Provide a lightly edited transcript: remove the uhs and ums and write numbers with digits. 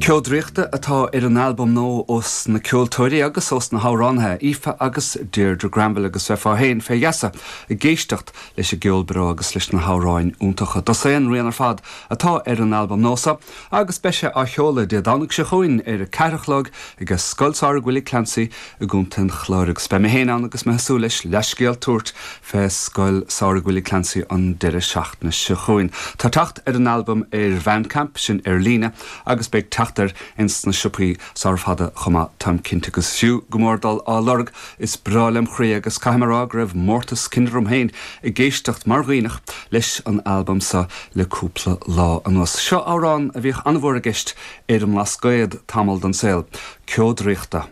Ceo Draíochta atá ar an albam nua ós na ceoltóirí agus ós na hamhránaithe, Aoife agus Deirdre Granville agus bheifeá féin fé gheasa ag éisteacht leis an gceol breá agus leis na hamhráin iontacha. Dosaen rian ar fad atá ar an albam nua seo agus beidh sé á sheoladh Dé Domhnaigh seo chugainn ar a ceathair a chlog ag Scoil Samhraidh Willie Clancy i gContae an Chláir agus beidh mé féin ann agus mé ag súil leis leathscéal tabhairt fé Scoil Samhraidh Willie Clancy an deireadh seachtaine seo chugainn. Tá teacht ar an albam ar Bhandcamp, sin ar líne, agus beidh teacht air ins na siopaí sara fada chomh maith, táim cinnte, agus is fiú go mór dul á lorg, is breá lem chroí agus caithfidh mé a rá go raibh mórtas cinn orm féin ag éisteacht mar Dhuibhneach leis an albam seo le cúpla lá anuas. Seo amhrán a bhíodh an-mhór i gceist ar an mBlascaod tamall den saol, Ceo Draíochta.